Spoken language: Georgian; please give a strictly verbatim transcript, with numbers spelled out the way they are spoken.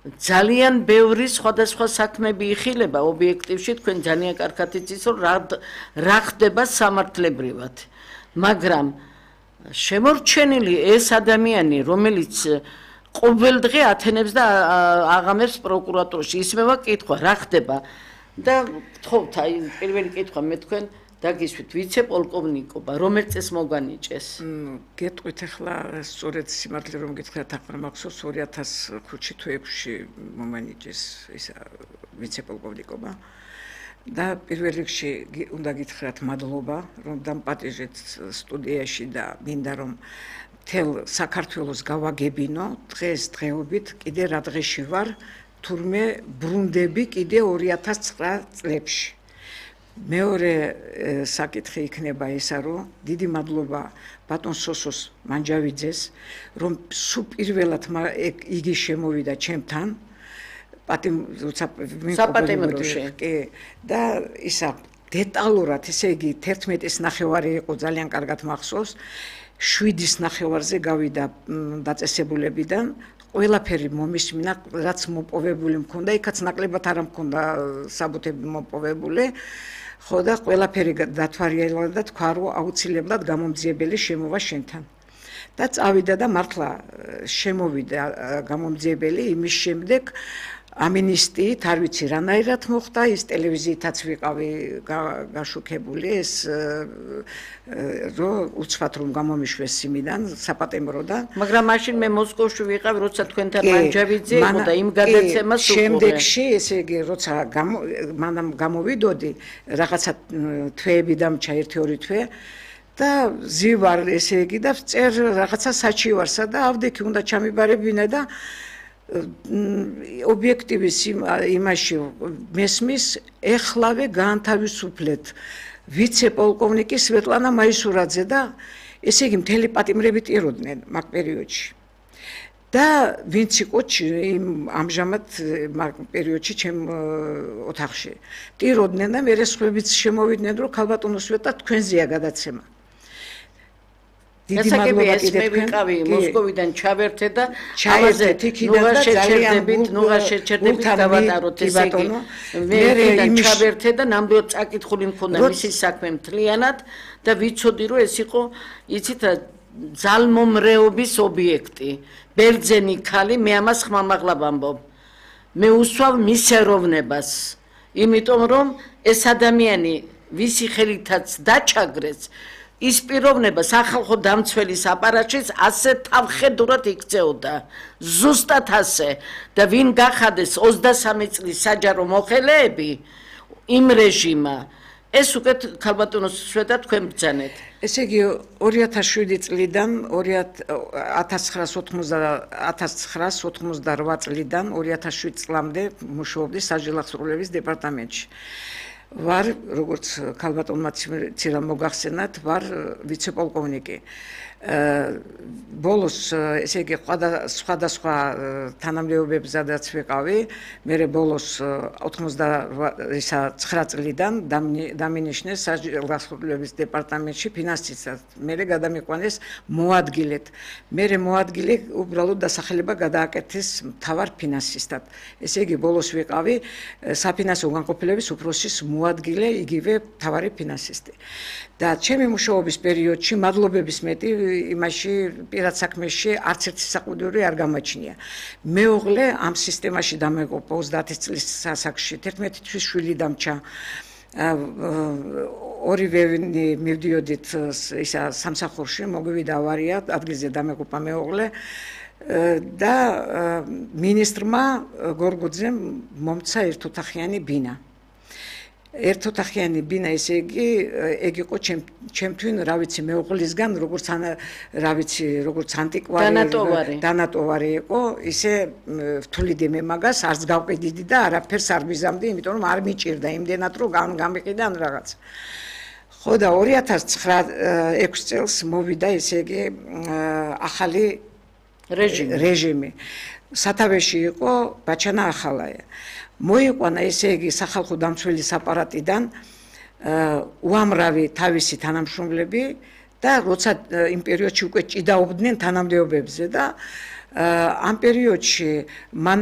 ძალიან ბევრი სხვადასხვა საქმეები იხილება ობიექტივში თქვენ ძალიან კარგად იცით რომ რა ხდება სამართლებრივად მაგრამ შემორჩენილი ეს ადამიანი რომელიც ყოველდღე ათენებს და აღამებს პროკურატურაში ისმევა კითხვა რა ხდება და გთხოვთ აი პირველი კითხვა მე თქვენ დაგისვით ვიცე-პოლკოვნიკობა რომელ წელს მოგანიჭეს გეტყვით ახლა სწორედ სიმართლე რომ გითხრათ ახლა მახსოვს ორი ათას ხუთში თუ ექვსში მომანიჭეს ის ვიცე-პოლკოვნიკობა და პირველ რიგში უნდა გითხრათ მადლობა რომ დამპატიჟეთ სტუდიაში და მინდა რომ მთელ საქართველოს გავაგებინო დღეს დღეობით კიდე რა დღეში ვარ თურმე ბრუნდები კიდე ორი ათას ცხრა წლებში მეორე საკითხი იქნება ისა რომ დიდი მადლობა ბატონ სოსოს მანჯავიძეს რომ სულ პირველად იგი შემოვიდა ჩემთან საპატიმროში კი და ისა დეტალურად ესე იგი თერთმეტის ნახევარი იყო ძალიან კარგად მახსოვს შვიდის ნახევარზე გავიდა დაწესებულებიდან ყველაფერი მომისმინა რაც მოპოვებული მქონდა იქაც ნაკლებად არ მქონდა საბუთები მოპოვებული ხო და ყველაფერი დათვალიერა და თქვა რომ აუცილებლად გამომძიებელი შემოვა შენთან და წავიდა და მართლა შემოვიდა გამომძიებელი იმის შემდეგ ამინისტიით არ ვიცი რანაირად მოხდა ის ტელევიზიითაც ვიყავი გაშუქებული ეს რომ უცბად რომ გამომიშვეს იმიდან საპატიმროდან მაგრამ მაშინ მე მოსკოვში ვიყავი როცა თქვენთან მანჯავიძე იყო და იმ გადაცემას უყურე შემდეგში ესე იგი როცა მანამ გამოვიდოდი რაღაცა თვეები დამჩა ერთი ორი თვე და ზივარ ესე იგი და წერ რაღაცა საჩივარსა და ავდექი უნდა ჩამიბარებინა და ობიექტივის იმაში მესმის ეხლავე განთავისუფლეთ ვიცე-პოლკოვნიკი სვეტლანა მაისურაძე და ესე იგი მთელი პატიმრები ტიროდნენ მაგ პერიოდში და ვინც იყო იმ ამჟამად მაგ პერიოდში ჩემ ოთახში ტიროდნენ და მე სხვებიც შემოვიდნენ რომ ქალბატონო სვეტა თქვენზეა გადაცემა დიდი მადლობა კიდევ ვიყავი მოსკოვიდან ჩავერთე და ამაზე ნუღა შეჩერდებით ნუღა შეჩერდებით გავატაროთ ესე იგი მე ჩავერთე და ნამდვილად წაკითხული მქონდა მისი საქმე მთლიანად და ვიცოდი რომ ეს იყო იცით ძალმომრეობის ობიექტი ბერძენი ქალი მე ამას ხმამაღლა ვამბობ მე უსვავ მის ეროვნებას იმიტომ რომ ეს ადამიანი ვისი ხელითაც დაჩაგრეს ის პიროვნება სახალხო დამცველის აპარატშიც ასე თავხედურად იქცეოდა ზუსტად ასე და ვინ გახადეს ოცდასამი წლის საჯარო მოხელეები იმ რეჟიმა ეს უკვე ქალბატონოს სვეტა თქვენ ბრძანეთ ესე იგი ორი ათას შვიდი წლიდან ათას ცხრაას ოთხმოცდარვა წლიდან ორი ათას შვიდი წლამდე მუშაობდი საჯელახსრულების დეპარტამენტში ვარ როგორც ქალბატონმა ცირა მოგახსენათ ვარ ვიცე-პოლკოვნიკი ბოლოს ესე იგი სხვადასხვა თანამდებობებზადაც ვიყავი მე ბოლოს ოცდაცხრა წლიდან დამინიშნეს საჯელახსრულების დეპარტამენტში ფინანსისტად მე გადამიყვანეს მოადგილედ მე მოადგილე უბრალოდ დასახელება გადააკეთეს მთავარ ფინანსისტად ესე იგი ბოლოს ვიყავი საფინანსო განყოფილების უფროსის მოადგილე იგივე მთავარი ფინანსისტი და ჩემი მუშაობის პერიოდში მადლობების მეტი იმაში პირად საქმეში არც ერთი საყუდური არ გამაჩნია მეუღლე ამ სისტემაში დამეგობრდა ოცდაათი წლის ასაკში თერთმეტი თვის შვილი დამჩა ორივე მივდიოდით ისა სამსახურში მოგვივიდა ავარია ადგილზე დამეგობრდა მეუღლე და მინისტრმა გორგოძემ მომცა ერთოთახიანი ბინა ერთოთახიანი ბინა ესე იგი ეგ იყო ჩემთვინ რა ვიცი მეუღლისგან როგორც რა ვიცი როგორც ანტიკვარი დანატოვარი იყო ისე ვთვლიდი მე მაგას არც გავყიდიდი და არაფერს არ ვიზამდი იმიტომ რომ არ მიჭირდა იმდენად რომ გამიყიდა ან რაღაც ხო და ორი ათას ცხრა ექვსი წელს მოვიდა ესე იგი ახალი რეჟიმი სათავეში იყო ბაჩანა ახალაია მოიყვანა ესე იგი სახალხო დამცველის აპარატიდან უამრავი თავისი თანამშრომლები და როცა იმ პერიოდში უკვე ჭიდაობდნენ თანამდებობებზე და ამ პერიოდში მანან